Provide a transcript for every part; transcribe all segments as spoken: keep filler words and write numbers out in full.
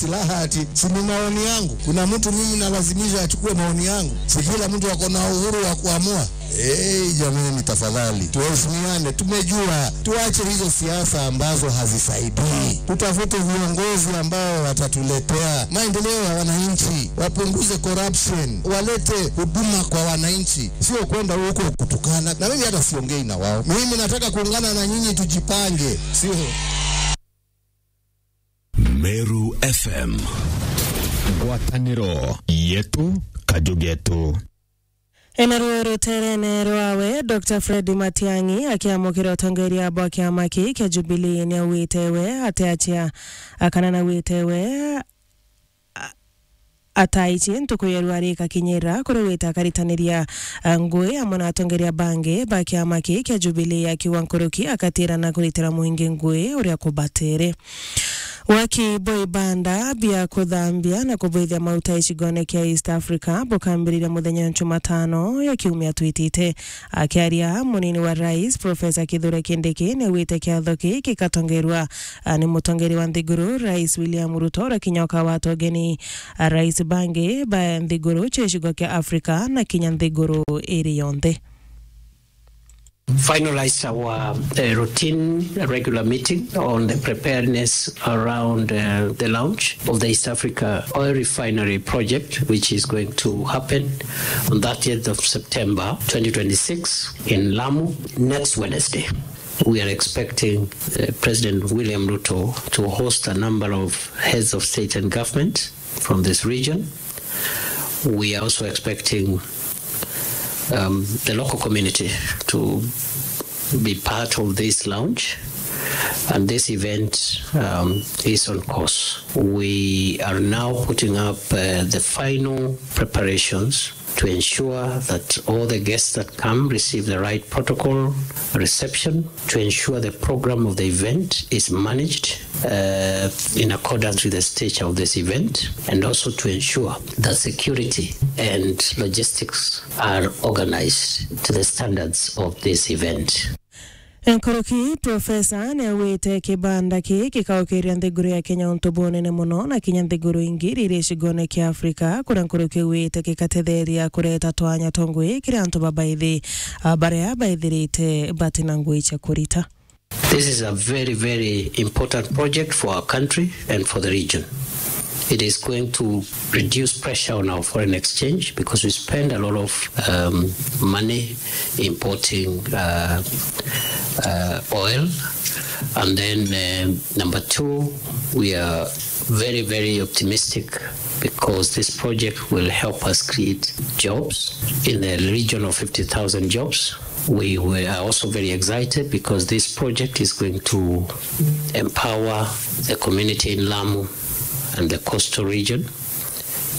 silaha ati si ni maoni yangu. Kuna mtu mimi nalazimisha achukue maoni yangu? Si kila mtu ako na uhuru wa kuamua? Hey, jamani, tafadhali tuheshimiane. Tumejua, tuache hizo siasa ambazo hazisaidii. Tutafute viongozi ambao watatuletea maendeleo ya wananchi, wapunguze corruption, walete huduma kwa wananchi, sio kwenda huko kutukana. Na mimi hata siongei na wao. Mimi nataka kuungana na nyinyi, tujipange, sio? Meru F M. Ngwataniro yetu, kaju getu. Ena ruo ruterene rwawe, Doctor Fred Matiang'i akiamukira utongeria bwa kiama kii kia Jubilee, ni augite we atiachia, akana na gwite we a-, ataichi ntuku ya rwari ikakinyira kuri gwita akaritaniria, a, ngui amwe na atongeria bangi ba kiama kii kia Jubilee, akiuga nkuruki akatirana kuritira mwingi ngui uria kubatere. Waki bwa ibanda bia kuthambia na kubwithia mauta icigone kia East Africa bukambiriria muthenya wa Jumatano ya kiumia twitite. Akiaria, munini wa rais, Professor Kithure Kindiki, niaugite kiatho kii gikatongerua, a, ni mutongeri wa nthiguru, Rais William Ruto, uria kinya ukawata ugeni, a, rais bangi ba nthiguru cia gicigo kia Africa na kinya nthiguru iri yonthe. Finalized our, uh, routine regular meeting on the preparedness around, uh, the launch of the East Africa Oil Refinery Project, which is going to happen on thirtieth of September twenty twenty-six in Lamu next Wednesday. We are expecting, uh, President William Ruto to host a number of heads of state and government from this region. We are also expecting, um, the local community to be part of this launch, and this event, um, is on course. We are now putting up, uh, the final preparations to ensure that all the guests that come receive the right protocol reception, to ensure the program of the event is managed, uh, in accordance with the stature of this event, and also to ensure that security and logistics are organized to the standards of this event. Nkuruki, Professor niaugite kibanda kii gikaukiria nthiguru ya Kenya untu bunene muno, na kinya nthiguru ingi iria iri gicigone kia Africa, kuria nkuruki augite gikatetheria kureta twanya twa ngui kiri antu babaithi, a, baria baithirite batina ngui cia kurita. This is a very, very important project for our country and for the region. It is going to reduce pressure on our foreign exchange because we spend a lot of, um, money importing, uh, uh, oil. And then, um, number two, we are very, very optimistic because this project will help us create jobs in the region of fifty thousand jobs. We were, are also very excited because this project is going to empower the community in Lamu and the coastal region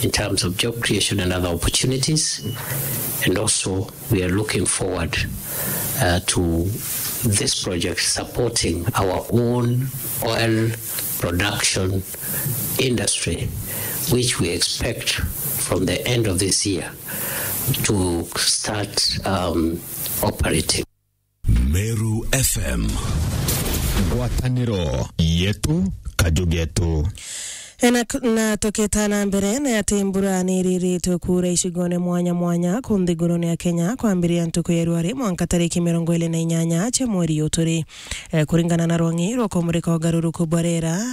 in terms of job creation and other opportunities. And also, we are looking forward, uh, to this project supporting our own oil production industry, which we expect from the end of this year to start, um, operating. Meru F M. Ngwataniro yetu, kaju getu. Na, na tukita na mbere, ni ati mbura ni iriritwe kuura icigone mwanya mwanya ku nthigurune ya Kenya, kwambiriria ntuku ya rwari mwanka tariki mirongo iri na inyanya cia mweri uyu turi. Eh, kuringana na rwang'i rwa kumurika ugaruruku bwa riera,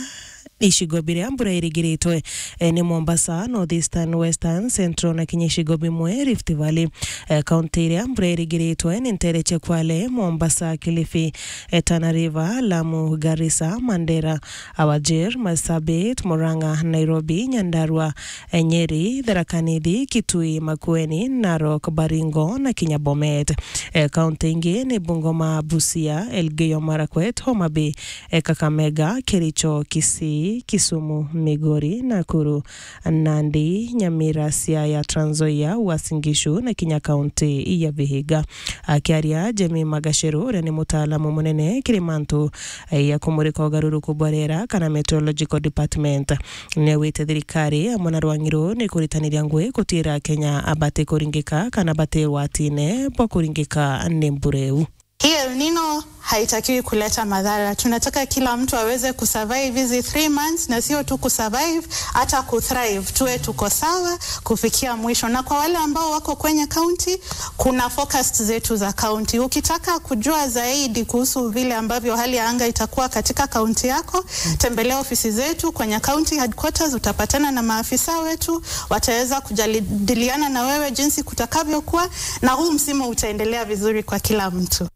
icigo biria mbura irigiritwe, eh, ni Mombasa, North Eastern, Western, Central na kinya icigo bimwe Rift Valley. Eh, kaunti iria mbura irigiritwe ni ntere cia Kwale, Mombasa, Kilifi, eh, Tana River, Lamu, Garissa, Mandera, Wajir, Marsabit, Murang'a, Nairobi, Nyandarua, eh, Nyeri, Tharaka Nithi, Kitui, Makueni, Narok, Baringo na kinya Bomet. Eh, kaunti ingi ni Bungoma, Busia, Elgeyo Marakwet, Homa Bay, eh, Kakamega, Kericho, Kisii, Kisumu, Migori, Nakuru, Nandi, Nyamira, Siaya, Trans Nzoia, Uasin Gishu na kinya kaunti ya Vihiga. Akiaria, Jemima Gacheru, uria ni mutaalamu munene kiri mantu, eh, ya kumurika ugaruruku bwa riera kana Meteorological Department, niaugite thirikari amwe na rwang'i ruu ni kuritaniria ngui gutiira Akenya abati kuringika kana bati watine bwa kuringika ni mbura iu. Hii El Nino haitakiwi kuleta madhara. Tunataka kila mtu aweze kusurvive hizi three months, na sio tu kusurvive, hata kuthrive. Tuwe tuko sawa kufikia mwisho. Na kwa wale ambao wako kwenye county, kuna forecast zetu za county. Ukitaka kujua zaidi kuhusu vile ambavyo hali ya anga itakuwa katika county yako, tembelea ofisi zetu kwenye county headquarters, utapatana na maafisa wetu, wataweza kujadiliana na wewe jinsi kutakavyokuwa, na huu msimu utaendelea vizuri kwa kila mtu.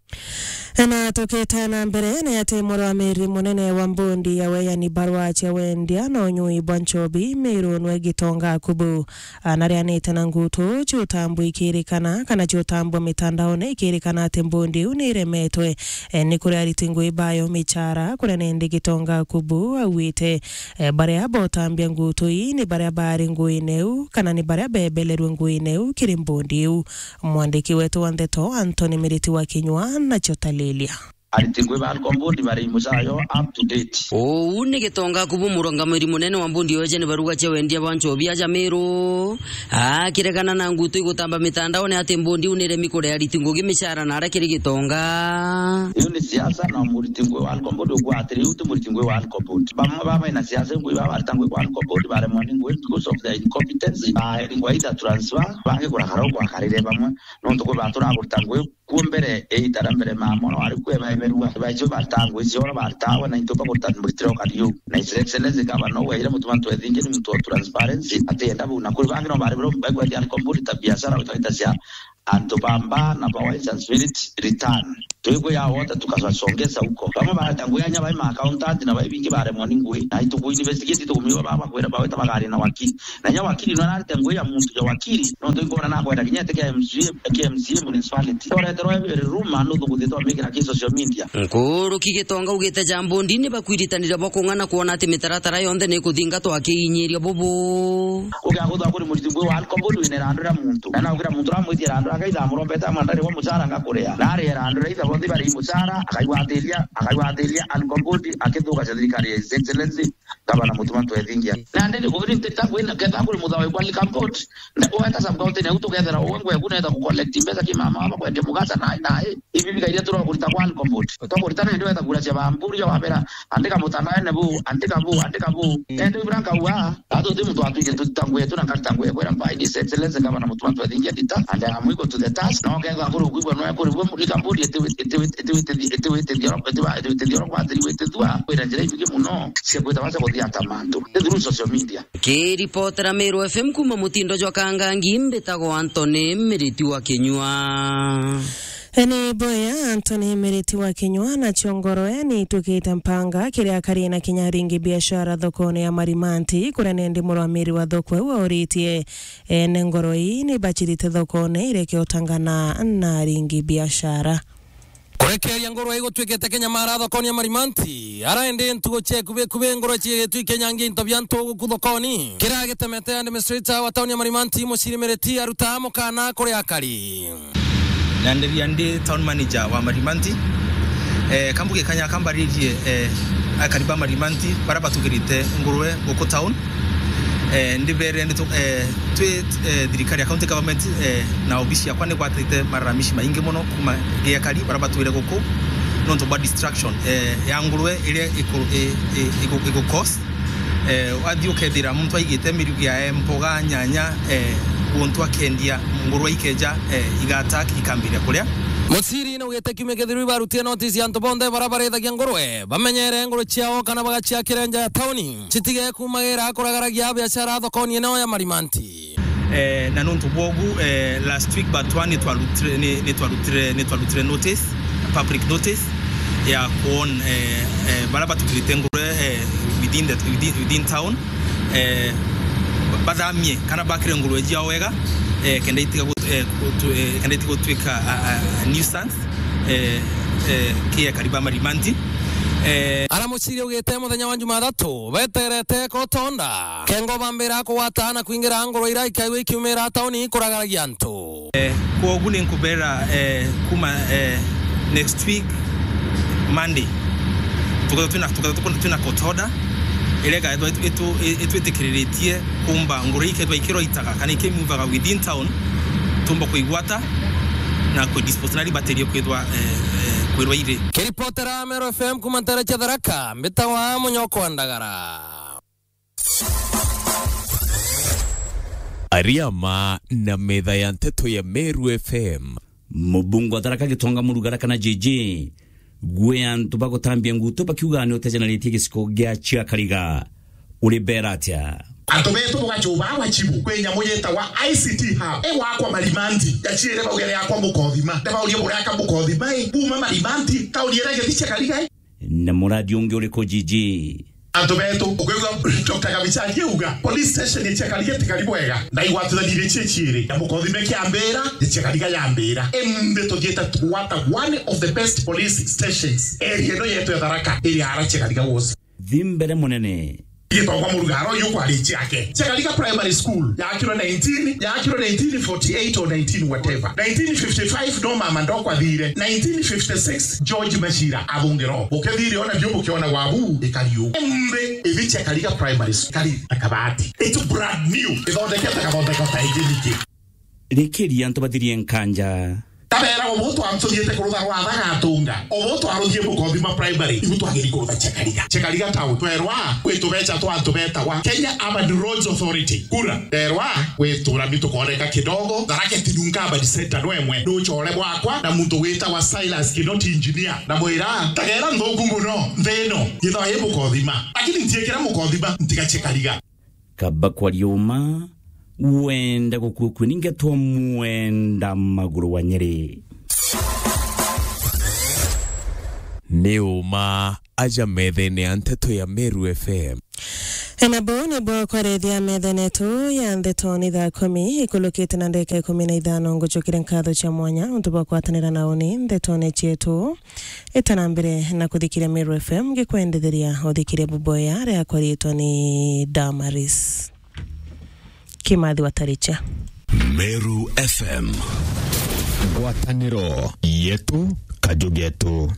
Na tukite na mbere, ni ati murwamiri munene wa mbondi ya weyani barua cia wendia na unyui bwa nchobi Miru nwe Gitonga Kubu anarianite na ngutu ciutambwa ikirikana kana ciutambwa mitandaone ikirikana ati mbondi iu ni iremetwe, e, ni kuria ariti ngui bayo michara, kuria nindi Gitonga Kubu augite, e, baria botambia ngutu ii ni baria bari nguine iu kana ni baria bebelerwe nguine iu kiri mbondi iu. Mwandiki wetu wa ndeto Anthony Miriti wa Kinyua nacio talilia. Ariti ngui ba Alcom Board bari mucara yo up to date. Uu ni Gitonga Kubu, murungamiri munene wa mbondi ya weyani barua cia wendia bwa nchobi aja Miru, akiregana na ngutu igutamba mitandaone ati mbondi iu ni iremi kuria ariti ngugi micara na aria kiri Gitonga. Iu ni siasa, na muriti ngui wa Alcom Board ugwatiri, iu ti muriti ngui wa Alcom Board. Bamwe baba ina siasa ngui baba arita ngui kwa Alcom Board baremwa ni ngui because of their incompetence, baeri ngui either transfer, bangi kurakara ugwakarire bamwe. Nontu kwi bantu na kurita ngui kuo mbere, iita ria mbere mama ona wari kuo ebaeberua, baicio barita ngui ciao na baritawe na into bakurita muritire o kariu. Na His Excellency Gavana ugaire Mutuma M'Ethingia ni muntu wa transparency, atienda bau. Na kuri bangi no bari bro, baigwatia Alcom Board ta biashara, witaita cia antu ba mbaa na ba wines and spirit return. Twikwiya wote tukasongeza huko. Bamwe bareta ngui anya bai ma accountant na bai bingi baremwa ni ngui. Na ituku investigate tukumiwa baba kwira baweta bagari na wakili. Na nya wakili no ararite ngui ya muntu ya wakili, no ntu inkona na kwenda kinya ete kia M C A, kia M C A municipality. Oreterwa every rumor no thukuthitwa mikira ki social media. Nkuruki Gitonga ugite ja mbondi ni bakwiritanira bwa kung'ana kwona ati mitaratara yonthe ni ikuthingatwa akiinyiria bubu. Ugiakuthwa kuri muriti ngui wa Alcom Board wina irandu ria muntu. Na naugira muntu ramwitia irandu riake ithamurombete amwe ndari wa mucara ngakuria. Na ari irandu ria itha bonthe bari mucara, akaigwatiria, akaigwatiria Alcom Board akithugacia thirikari ya His Excellency Gavana Mutuma M'Ethingia. Na ndiri kuri ntita kwina ketha kuri muthawa kwa Alcom Board. Na weta sub county na utukethera uwe ngwe kuna etha ku collect mbeca ki mama wa kwendia mugata na na. Ibi bikairia turo kurita kwa Alcom Board. Twakuritana indi wetha kura cia bamburi ya wabera, andika mutandaone bu, andika bu, andika bu. Mm. Indi bura nkauga, atu ti muntu atwije tutita ngui yetu na nkarita ngui yetu iria mbaini His Excellency Gavana Mutuma M'Ethingia ndita, and I am equal to the task. Na ukethwa kuri ukwigua no kuri bwe mulika mburi itiwitithia oro kwathiri witithua kwira njira ibingi muno cia kwita baca kuthia ta mantu. Ni through social media. Kiripotera Meru F M kuma mutindo jwa Kangangi, mbitagwa Anthony Miriti wa Kinyua. Ni boya Anthony Miriti wa Kinyua na ciongoroe ni itukite mpanga kiria kari na kinya aringi biashara thokone ya Marimanti, kuria nindi murwamiri wa thoko iu auritie ene ngoro ii ni bachirite thokone ireke utangana na aringi biashara. Kurekeria ngoro igutwikite kinyamara thokone ya Marimanti, ara indi ntugo cia ikubi ikubi ngoro ciigitwi kinyangia into bia ntu guku thokoni. Kiria gitemete administrator wa tauni ya Marimanti, Muciri Miriti aruta mukana kuri akari. Nyanderia ndi town manager wa Marimanti. Eh, kambuge kanya kambaririe, eh, akari ba Marimanti bara batukirite ngurwe guku town. Eh, ndibere ndi tu-, eh, twi, eh, thirikari ya county government, eh, na obisi yakwa ni gwatite malalamishi maingi muno kuma gia akari bara batwire guku nontu bwa destruction, eh, ya ngurwe iria iku-, i-, i-, iku-, iku cause. Eh, wathi ukethira muntu aigite mirugi yae, mboga, nyanya, eh, guntu akendia, ngurwe ikeja, eh, iga attack, ikambiria kuria. Muciri naugite kiumia kithiru ibarutire notice ya antu bonthe bara barithagia ngurwe bamenyere ngurwe ciao kana bagaciakire nja ya tauni, citige kumagira kuragaragia biashara thokoni eneo ya Marimanti. Eh, na nontu bwogu, eh, last week but one ni twarutire, ni, ni twarutire, ni twarutire notice, public notice ya kuon, eh, eh, bara batukirite ngurwe, eh, within the, within, within town, eh, bathamie kana bakire ngurwe ciao wega, eh, kenda itiga gut-, eh, gutu-, eh, kenda itiga gutwika a, a, a nuisance, eh, eh, ki akari ba Marimanti. Eh, ara muciri ugite muthenya wa Jumathatu beterete kotonda kengo bambira kugwata na kwingira ngurwe ira ikaigua ikiumira tauni kuragaragia antu. Eh, kwogu ni nkubera, eh, kuma, eh, next week Monday tukethwa twina, tukethwa tukuna twina court order iria ikaethwa itu-, itu-, itwitikiriritie kumba ngurwe ikethwa ikirwa itaga kana ikimuvaga within town, tumba kuigwata na kuidispose na ribaterie kwithwa, eh, eh, Kwirwa iri. Kiripotera Meru F M kuma ntere cia Tharaka, mbitawa Munyoko wa Ndagara. Ariama na metha ya nteto ya Meru F M. Mubunge wa Tharaka Gitonga Murugara kana J J, gwe antu bagutambia ngutu bakiuga ni utejanaritie giciko gia Chiakariga. Uri bera atia? Antu betu bugacuba wachibu kwi nyamu yitawa I C T Hub. Igwakwa Marimanti, yachiire baugere yakwa Mukothima. Ndibaurie bureka Mukothima i, buma Marimanti, tauni iria igethi Chiakariga i. Na muradi ungi uriku, J J? Antu betu, ukwigua Doctor Kabicha akiuga, police station ya Chiakariga tikari bwega, na igwatithanirie cie ciiri, na Mukothima kiambira, ya Chiakariga yambira. Imbi tuthiite twata one of the best police stations area ino yetu ya Tharaka, iri ara Chiakariga wosi. Thi mbere munene. Gitongwa Murugara uyu kwari ciake. Chiakariga Primary School, yakirwe nineteen, yakirwe nineteen forty-eight or nineteen whatever. Nineteen fifty-five no mama ndokwa thire. Nineteen fifty-six, George Machira athungiro. Ukethire ona bio bukiona wabu, ikari u. Imbi, ithi Chiakariga Primary School, kari na kabati. It's brand new. Ithondekete kathondeka ta ingi ningi. Rikiria antu bathirie nkanja. Tabera, ubu twa-, tuthiite kurutha rwatha gatunga. Ubu twaruthie Mukothima Primary, ibu twagiri kurutha Chiakariga. Chiakariga town, twerwa, kwi tubecha twa antu betagwa Kenya Urban Roads Authority. Kura, nderwa, gwi turami tukooneka kidogo, Tharaka Tinunka Urban Center no imwe. Nuchore bwakwa na muntu witawa Silas Kinoti engineer. Na mwira, tagera nthuku muno, nthi ino, yithwa i Mukothima. Lakini ntiikira Mukothima, ntiga Chiakariga. Kaba kwaria uma, wenda gukua kue ningetwa mwenda maguru wa Nyeri. Ni uma aja methene ya nteto ya Meru F M. Ena bo ni bwa kwarethia methene yetu ya ndeto ni thaa kumi, ikulukite na ndeka ikumi na ithano, ngucukire nkatho cia mwanya untu bwa kwatanira na uni ndetone cietu. Ita na mbere na kuthikiria Meru F M, ngikwendetheria uthikirie buboya riakwa riitwa ni Damaris Kimathi wa Taricha. Meru F M. Ngwataniro yetu, kaju getu.